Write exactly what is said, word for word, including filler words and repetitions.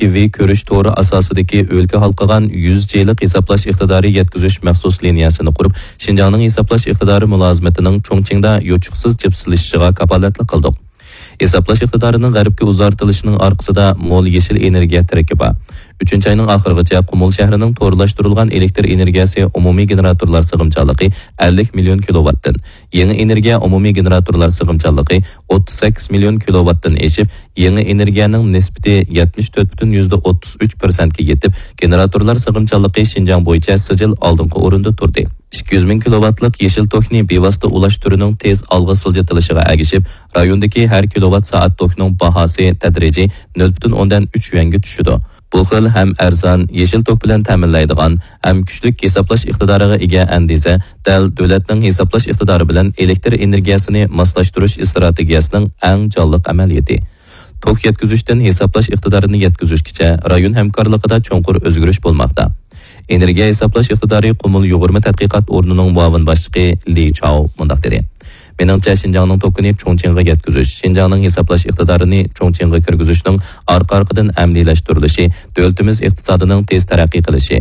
ئىشلىتىش تورى ئاساسىدىكى ئۆلكە ھالقىغان يۈز جىلىق ھېسابلاش ئىقتىدارى يەتكۈزۈش مەخسۇس لىنىيەسىنى قۇرۇپ، شىنجاڭنىڭ ھېسابلاش ئىقتىدارى مۇلازىمىتىنىڭ چۇڭچىڭدا يوچۇقسىز جىپسىلىشىشىغا كاپالەتلىك قىلدۇق. ھېسابلاش ئىقتىدارىنىڭ غەربكە ئۇزارتىلىشىنىڭ ئارقىسىدا مول يېشىل ئېنېرگىيە تىرىكى بار. ئۈچىنچى ئاينىڭ ئاخىرىغىچە قۇمۇل شەھىرىنىڭ تورلاشتۇرۇلغان ئېلېكتر ئېنېرگىيەسى ئومۇمىي گېنېراتورلار سىغىمچانلىقى ئەللىك مىليون كىلوۋاتتىن، يېڭى ئېنېرگىيە ئومۇمىي گېنېراتورلار سىغىمچانلىقى ئوتتۇز سەككىز مىليون كىلوۋاتتىن ئېشىپ، يېڭى ئېنېرگىيەنىڭ نىسبىتى يەتمىش تۆت پۈتۈن يۈزدە ئوتتۇز ئۈچ پىرسەنتكە يېتىپ، گېنېراتورلار سىغىمچانلىقى شىنجاڭ بويىچە سىجىل ئالدىنقى ئورۇندا تۇردى. ئىككى يۈز مىڭ كىلوۋاتلىق يېشىل توكنى بىۋاسىتە ئۇلاش تۈرىنىڭ تېز ئالغا سىلجىتىلىشىغا ئەگىشىپ، رايوندىكى ھەر كىلوۋات سائەت توكنىڭ باھاسى تەدرىجىي نۆل پۈتۈن ئوندىن ئۈچ يۈەنگە چۈشىدۇ. بۇ خىل ھەم ئەرزان، يېشىل توك بىلەن تەمىنلەيدىغان، ھەم كۈچلۈك ھېسابلاش ئىقتىدارىغا ئىگە ئەندىزە دەل دۆلەتنىڭ ھېسابلاش ئىقتىدارى بىلەن ئېلېكتر ئېنېرگىيەسىنى ماسلاشتۇرۇش ئىستراتېگىيەسىنىڭ ئەڭ جانلىق ئەمەلىيىتى. توك يەتكۈزۈشتىن ھېسابلاش ئىقتىدارىنى يەتكۈزۈشكىچە رايون ھەمكارلىقىدا چوڭقۇر ئۆزگىرىش بولماقتا. ئېنېرگىيە ھېسابلاش ئىقتىدارى قۇمۇل يۇغۇرما تەتقىقات ئورنىنىڭ مۇئاۋىن باشلىقى لى چاۋ مۇنداق دېدى: مېنىڭچە، شىنجاڭنىڭ توكىنى چۇڭچىڭغا يەتكۈزۈش، شىنجاڭنىڭ ھېسابلاش ئىقتىدارىنى چۇڭچىڭغا كىرگۈزۈشنىڭ ئارقا-ئارقىدىن ئەمەلىيلەشتۈرۈلۈشى دۆلىتىمىز ئىقتىسادىنىڭ تېز تەرەققىي قىلىشى،